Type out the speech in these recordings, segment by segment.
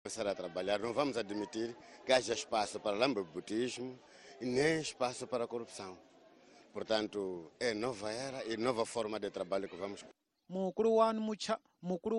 Começar a trabalhar, não vamos admitir que haja espaço para lambebutismo e nem espaço para corrupção. Portanto, é nova era e nova forma de trabalho que vamos. Mukulu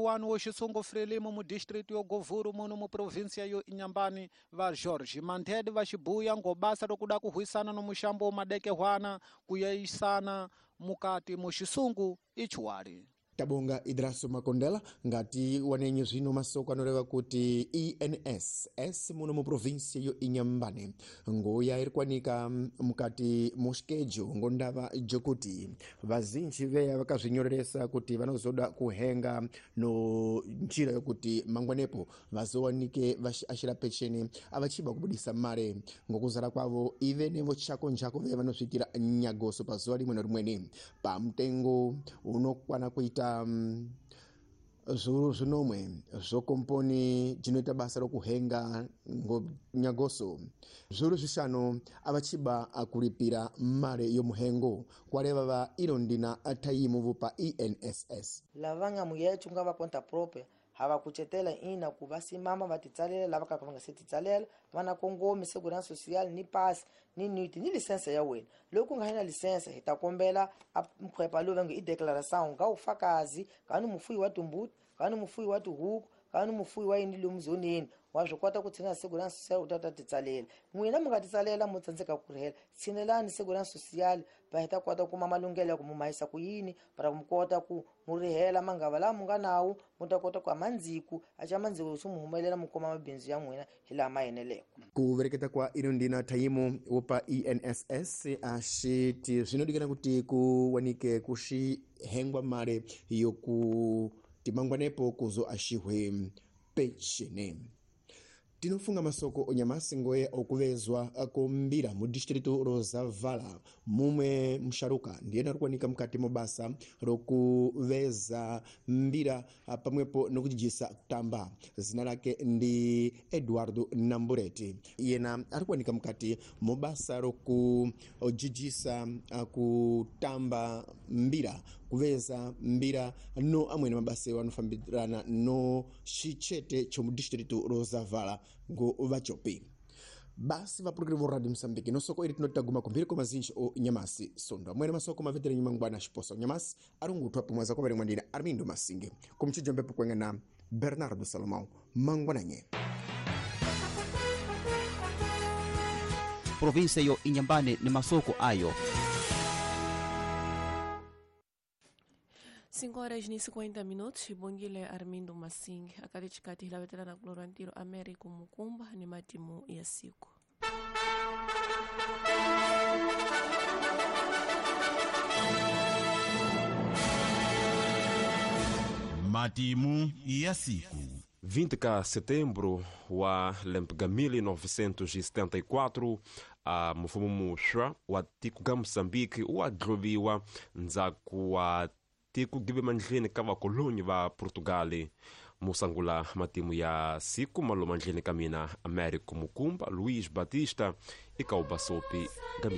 wanu wo xisungu Frelimo mu district yo Govuru muno mu província yo Inhambane va Jorge Manthede va xibuya ngobasa lokuda kuhwisana no muxambo wa madekehwana kuyeyisana mukati mu xisungu ichiwali. Tabonga Idraso Makondela ngati wanenye zvino masoko anoreva kuti ENSS muno mu província yo Inhambane ngoya iri kwanika mukati muskejo ngondava jokuti vazinji veya vakazvinyoreresa kuti vanozoda kuhenga no njira yokuti mangwanepo vazowanike vachiashira pecheni avachiba kubudisa mare ngokuzara kwavo ive nevochako njako veya vanozviitira nyagoso pazuva rimwe nerimweni pamutengo unokwana kuita zviuru zvinomwe zvokomponi dzinoita basa rokuhenga nyagoso zviuru zvishanu avachiba kuripira mare yomuhengo kwareva va iro ndina taimu pa ENSS lava nga muyechu nga va conta própria hava kucetela ina ku va simama va titsalela lava ka va nga se titsalela va na kongomi segurança social ni pasi ni niti ni lisense ya wena. Loko u nga na lisense hi ta kombela a mkhwepa lowu va nge i declaração nga ufakazi ka ni mufuyi wa timbuti, ka ni mufuyi wa tihuku, ka ni mufuyi wa yini lomu zoneni wa swi kota ku tshinela segurança social u ta ta titsalela. N'wina mi nga titsalela mo tsandzeka ku rihela, tshinelani segurança social va hi ta kota ku kuma malunghelo ya ku mu mahisa ku yini para mu kota ku mu rihela mangava lawa mu nga nawo mu ta kota ku amandziku aca mandziku swi mu humelela mu kuma mabindzu ya n'wina hi laha ma eneleke. Ku vereketa kwa ino ndina thayimu wopa ENSS axiti zvinodikana kuti kuwanike kuxihengwa mare yoku timangwanepo kuzo axihwe pechene. Tinofunga masoko onyamasi ngoye okuvezwa kumbira mu distritu Rosavala mumwe musharuka ndiyena arikuwanika mukati mobasa rokuveza mbira pamwepo nokujijisa kutamba. Zina lake ndi Eduardo Nambureti. Iyena arikuwanika mukati mobasa rokujijisa kutamba mbira, kuveza mbira no amwene mabasa anofambirana no xichete chomu distritu Rosavala ngo vachopi. Basi vapurukiri vo Radio Mozambique nosoko iri tinotaguma kumbiri kwa mazinji o nyamasi sondo amwene masoko mavetera nyimangwana xiposa nyamasi arungutwa pamwe kwa varimwe ndina Armindo Masinge kumchijo mbepo kwenga na Bernardo Salomão mangwananye. Província yo Inhambane ni masoko ayo. 5 horas e 50 minutos, Bongile Armindo Masinge, akati hilavetela na kulorwantiro Américo Mukumba ni matimu ya siku. Matimu ya siku. 20 de setembro wa lempega 1974 a mufumo muxwa wa tiko ga Moçambique wa ndzhaku wa tiko give mandleni ka vakolonyi va Portugal. Musangula matimu ya siku maloma ndleni ka mina Américo Mukumba Luís Batista eka Ubasopi ga.